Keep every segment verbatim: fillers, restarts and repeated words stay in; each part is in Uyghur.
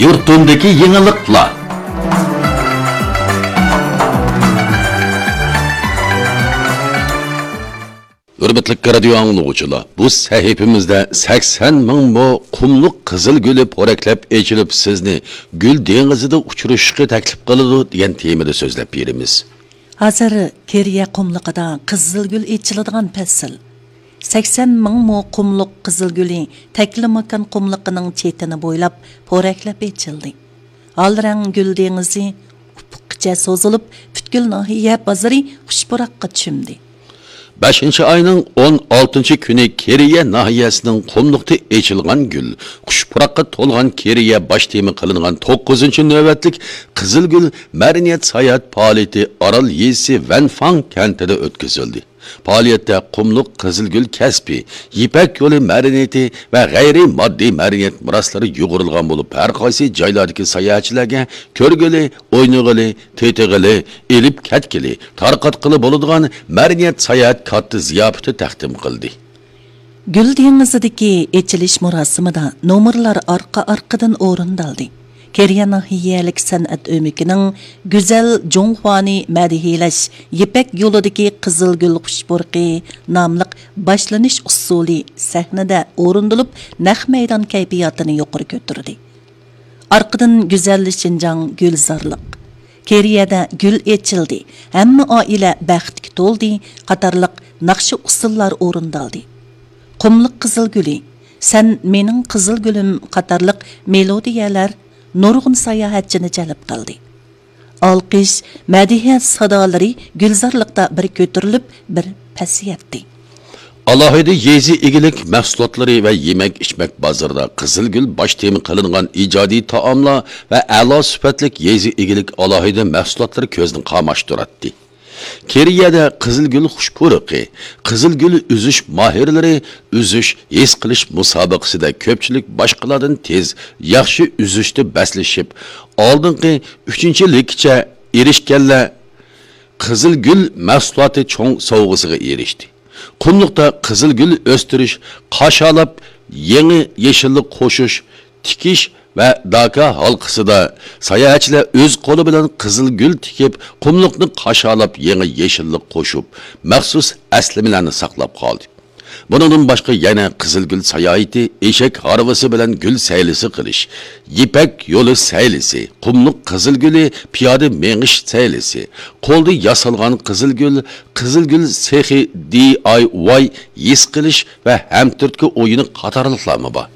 يۇرتۇمدىكى يېڭىلىقلار. ھۆرمەتلىك رادىيو ئاڭلىغۇچىلار، بۇ سەھىپىمىزدە سەكسەن مىڭ مو قۇملۇق قىزىل گۈلى پورەكلەپ ئېچىلىپ، سىزنى گۈل دېڭىزىدا ئۇچرىشىشقا تەكلىپ قىلىدۇ دېگەن تېمىدا سۆزلەپ بېرىمىز. ھازىر كېرىيە قۇملۇقىدا قىزىل گۈل ئېچىلىدىغان پەسىل. سەكسەن مىڭ مو قۇملۇق قىزىل گۈلى تەكلىماكان قۇملۇقىنىڭ چېتىنى بويلاپ پورەكلەپ ئېچىلدى. ھال رەڭ گۈل دېڭىزى ئۇپۇققىچە سوزۇلۇپ، پۈتكۈل ناھىيە بازىرى خۇش پۇراققا چۆمدى. بەشىنچى ئاينىڭ ئون ئالتىنچى كۈنى كېرىيە ناھىيەسىنىڭ قۇملۇقتا ئېچىلغان گۈل، خۇش پۇراققا تولغان كېرىيە باش تېما قىلىنغان توققۇزىنچى نۆۋەتلىك قىزىل گۈل مەدەنىيەت ساياھەت پائالىيىتى ئارال يېزىسى ۋەنفاڭ كەنتىدە ئۆتكۈزۈلدى. پائالىيەتتە قۇملۇق قىزىل گۈل كەسپى، يىپەك يولى مەدەنىيىتى ۋە غەيرىي ماددىي مەدەنىيەت مىراسلىرى يۇغۇرۇلغان بولۇپ، ھەر قايسى جايلاردىكى ساياھەتچىلەرگە كۆرگىلى، ئوينىغىلى، تېتىغىلى، ئېلىپ كەتكىلى، تارقاتقىلى بولىدىغان مەدەنىيەت ساياھەت كاتتا زىياپىتى تەقدىم قىلدى. گۈل دېڭىزىدىكى ئېچىلىش مۇراسىمىدا نومۇرلار ئارقا-ئارقىدىن ئورۇندالدى. كېرىيە ناھىيەلىك سەنئەت ئۆمىكىنىڭ گۈزەل جۇڭخۇانى مەدھىيەلەش يىپەك يولىدىكى قىزىل گۈل خۇش پۇرىقى ناملىق باشلىنىش ئۇسسۇلى سەھنىدە ئورۇندىلىپ، نەق مەيدان كەيپىياتىنى يۇقىرى كۆتۈردى. ئارقىدىن گۈزەل شىنجاڭ گۈلزارلىق، كېرىيەدە گۈل ئېچىلدى، ھەممە ئائىلە بەختكە تولدى قاتارلىق ناخشا ئۇسسۇللار ئورۇندالدى. قۇملۇق قىزىل گۈلى، سەن مېنىڭ قىزىل گۈلۈم قاتارلىق مېلودىيەلەر نۇرغۇن ساياھەتچىنى جەلپ قىلدى. ئالقىش، مەدھىيە سادالىرى گۈلزارلىقتا بىر كۆتۈرۈلۈپ، بىر پەسىيەتتى. ئالاھىدە يېزا ئىگىلىك مەھسۇلاتلىرى ۋە يېمەك-ئىچمەك بازىرىدا قىزىل گۈل باش تېما قىلىنغان ئىجادىي تائاملار ۋە ئەلا سۈپەتلىك يېزا ئىگىلىك ئالاھىدە مەھسۇلاتلىرى كۆزنى قاماشتۇراتتى. كېرىيەدە قىزىل گۈل خۇش پۇرىقى، قىزىل گۈل ئۈزۈش ماھىرلىرى ئۈزۈش ھېس قىلىش مۇسابىقىسىدە كۆپچىلىك باشقىلاردىن تېز، ياخشى ئۈزۈشتە بەسلىشىپ، ئالدىنقى ئۈچىنچىلىككىچە ئېرىشكەنلەر قىزىل گۈل مەھسۇلاتى چوڭ سوۋغىسىغا ئېرىشتى. قۇملۇقتا قىزىل گۈل ئۆستۈرۈش، قاشالاپ يېڭى يېشىللىق قوشۇش، تىكىش ۋە داكا ھالقىسىدا ساياھەتچىلەر ئۆز قولى بىلەن قىزىل گۈل تىكىپ، قۇملۇقنى قاشالاپ يېڭى يېشىللىق قوشۇپ، مەخسۇس ئەسلىمىلەرنى ساقلاپ قالدى. بۇنىڭدىن باشقا يەنە قىزىل گۈل ساياھىتى، ئېشەك ھارۋىسى بىلەن گۈل سەيلىسى قىلىش، يىپەك يولى سەيلىسى، قۇملۇق قىزىل گۈلى پىيادە مېڭىش سەيلىسى، قولدا ياسالغان قىزىل گۈل، قىزىل گۈل سېخى، دى ئاي ۋاي ھېس قىلىش ۋە ھەمتۈرتكە ئويۇنى قاتارلىقلارمۇ بار.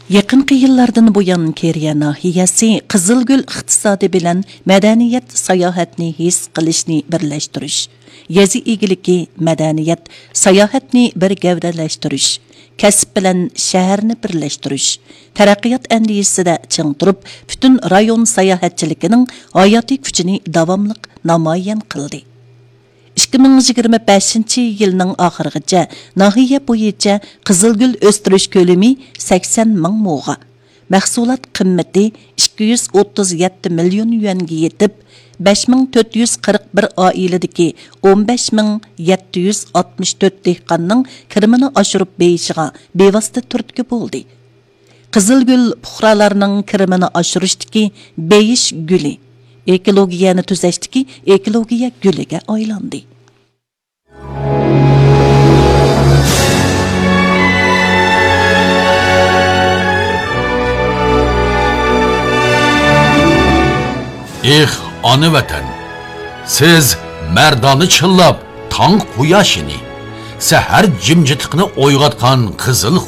يېقىنقى يىللاردىن بۇيان، كېرىيە ناھىيەسى قىزىل گۈل ئىقتىسادى بىلەن مەدەنىيەت، ساياھەتنى ھېس قىلىشنى بىرلەشتۈرۈش، يېزا ئىگىلىكى، مەدەنىيەت، ساياھەتنى بىر گەۋدىلەشتۈرۈش، كەسىپ بىلەن شەھەرنى بىرلەشتۈرۈش، تەرەققىيات ئەندىزىسىدە چىڭ تۇرۇپ، پۈتۈن رايون ساياھەتچىلىكىنىڭ ھاياتىي كۈچىنى داۋاملىق نامايان قىلدى. ئىككى مىڭ يىگىرمە بەشىنچى يىلنىڭ ئاخىرىغىچە ناھىيە بويىچە قىزىل گۈل ئۆستۈرۈش كۆلىمى سەكسەن مىڭ موغا، مەھسۇلات قىممىتى ئىككى يۈز ئوتتۇز يەتتە مىليون يۈەنگە يېتىپ، بەش مىڭ تۆت يۈز قىرىق بىر ئائىلىدىكى ئون بەش مىڭ يەتتە يۈز ئاتمىش تۆت دېھقاننىڭ كىرىمىنى ئاشۇرۇپ بېيىشىغا بىۋاسىتە تۈرتكە بولدى. قىزىل گۈل پۇقرالارنىڭ كىرىمىنى ئاشۇرۇشتىكى بېيىش گۈلى، ئېكولوگىيەنى تۈزەشتىكى ئېكولوگىيە گۈلىگە ئايلاندى. ئېھ، ئانا ۋەتەن! سىز مەردانە چىللاپ تاڭ قۇياشىنى، سەھەر جىمجىتلىقىنى ئويغاتقان قىزىل